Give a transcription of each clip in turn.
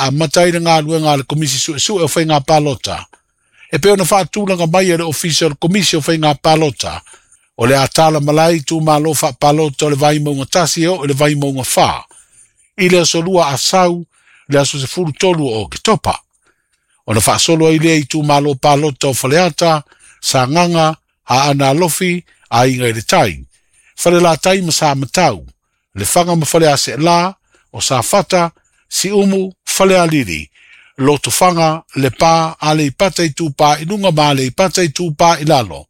amata ai le galuega a le Komisi Suesue o Faiga Palota e pei ona faatulaga mai e le Ofisa o le Komisi o Faiga Palota o le a tala malae itumalo faapalota o le Vaimauga 1 e oo i le Vaimauga 4 i le aso 2 Asau le aso 13 o Oketopa. Ona faasolo ai lea i itumalo palota o Faleata, Sagaga, Aana Alofi, Aiga i le Tai, Falelatai ma Samatau, Lefaga ma Faleaseela, o Safata, Siumu, Falealili, Lotofaga, Lepa, Aleipata Itupa i luga ma Aleipata Itupa i lalo,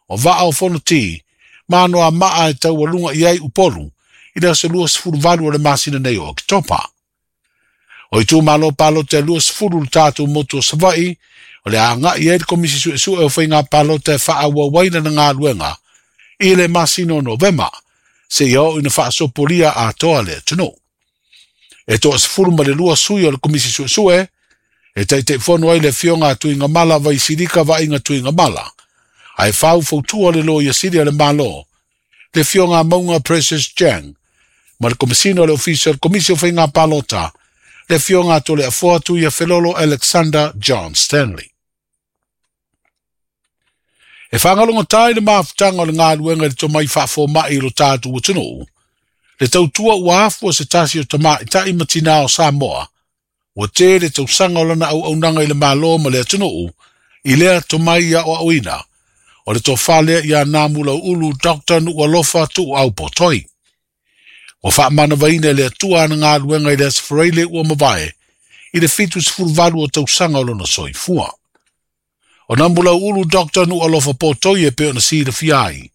o Vaa o Fonoti, ma Anoamaa e taualuga i ai Upolu i le aso 28 o le masina nei o Oketopa. O itumalo palota e 20 le tatou motu o Savaii, o le a agai ai le Komisi Suesue o Faiga Palota e faaauau ai lana galuega i le masina o Novema, seia oo ina faasopolia atoa le atunuu. E 12 sui o le Komisi Suesue, e taitaifono ai le afioga a Tuigamala Vaisilika Vaaiga Tuigamala, ae faufautua le Loia Sili a le Malo, le afioga a Mauga Precious Jang, ma le Komesina o le Ofisa o le Komisi o Faiga Palota, le afioga a Toleafoa Tuiafelolo Alexander John Stanley. E faagalogata i le mafutaga o le galuega i le tomai faafomai i lo tatou atunuu, le tautua ua afua se tasi o tamaitai ma tinā o Samoa, ua tele tausaga o lana auaunaga i le Malo ma le atunuu, i lea tomai aoaoina, o le tofa lea ia Namulauulu Dr. Nuualofa Tuuau Potoi. Ua faamanavaina e le Atua ana galuega i le Aso Faraile ua mavae, i le 78 o tausaga o lona soifua. O Namulauulu Dr. Nuualofa Potoi e pei ona silafia ai,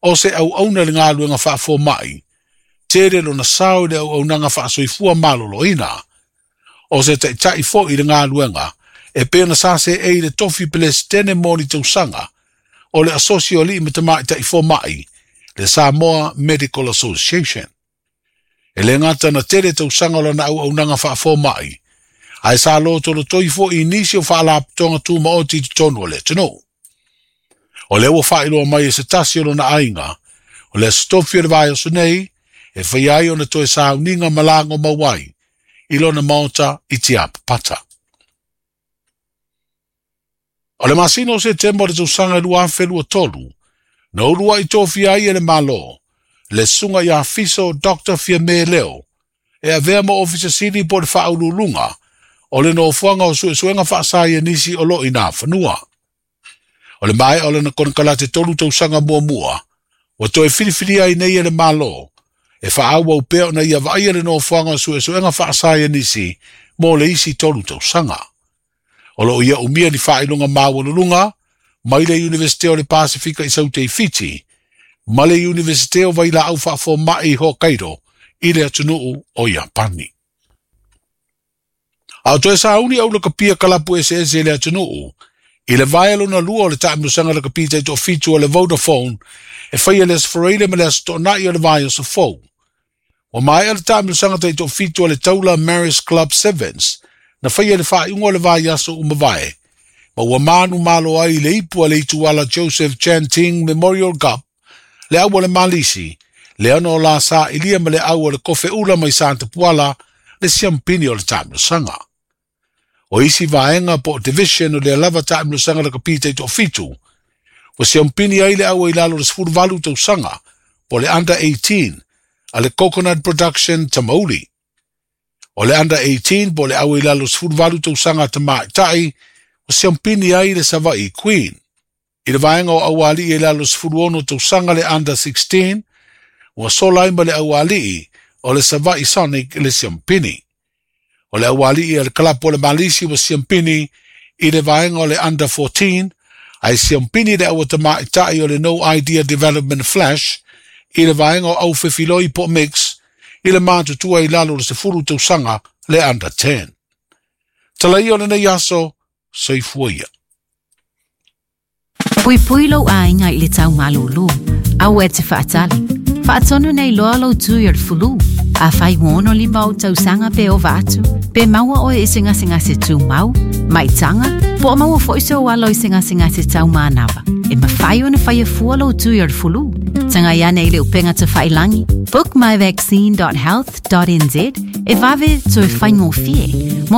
o se auauna i le galuega faafomai, tele lona sao i le auaunaga faasoifua maloloina. O se taitai foi i le galuega, e pei ona sa seei le tofi Pelesitene mo ni tausaga, o le Asosi o Alii ma Tamaitai Fomai, le Samoa Medical Association. E le gata na tele tausaga o lana auaunaga faafomai, ae sa lotolotoi foi i nisi o faalapotopotoga tumaoti i totonu o le atunuu. O lea ua faailoa mai e se tasi o lona aiga, o le aso tofi o le vaiaso nei, e faia ai ona toe sauniga ma lago mau ai i lona maota i Tiapapata. O le masina o Setema o le tausaga e 2023, na uluai tofia ai e le Malo, le susuga ia Fiso Dr. Fiame Leo, e avea ma Ofisa Sili po o le Faauluuluga o le Nofoaga o Suesuega Faasaienisi o lo o i Nafanua. O le maea o lana konekarate 3 tausaga muamua, ua toe filifilia ai nei e le Malo, e faaauau pea ona ia vaaia le nofoaga o suesuega faasaienisi mo le isi 3 tausaga. O lo o ia umia ni faailoga maualuluga mai le Iunivesite o le Pasifika i Saute i Fiti, ma le Iunivesite o Vailaau Faafomai i Hokkaido i le atunuu o Iapani. A o toe sauni au lakapia kalapu eseese i le atunuu, i le vaea lona lua o le taamilosaga lakapi taitoafitu o le Vodafone e faia le Aso Faraile ma le Aso Toonai o le vaiaso fou. Ua maea le taamilosaga taitoafitu o le Taula Maris Club Sevens na faia le faaiuga o le vaiaso ua mavae, ma ua manu malo ai i le ipu a le ituala Joseph Chan Ting Memorial Cup, le au o le Malisi, le ana o la sailia ma le au o le kofe ula mai Santa Puala, le siampini o le taamilosaga. O isi vaega po o division o lea lava taamilosaga lakapi taitoafitu, ua siampini ai le au i lalo o le 18 tausaga po o le Under 18 a le Coconut Production Tamauli. O le Under 18 po o le au i lalo o le 18 tausaga tamaitai, ua siampini ai le Savaii Queen. I le vaega o aualii i lalo o le 16 tausaga le Under 16, ua sola ai ma le aualii o le Savaii Sonic le siampini. O le aualii a le kalapu o le Malisi ua siampini i le vaega o le Under 14, ae siampini le aua tamaitai o le No Idea Development Flash i le vaega o au fefiloi po o mix i le matutua i lalo o le 10 tausaga le Under 10. Tala ia o lenei aso, soifua ia. Puipui lou aiga i le tau malūlū. Aua e te faatali. Faatonu nei loa lou tui o le fulu. Afai ua 65 ou tausaga pe ova atu, pe maua oe i se gasegase tumau, maitaga, po o maua foi sou alo i se gasegase taumanava, e mafai ona faia fua lou tui o le fulu. Tagai ane i le upega tafailagi bookmyvaccine.health.nz e vave toe faigofie. Mo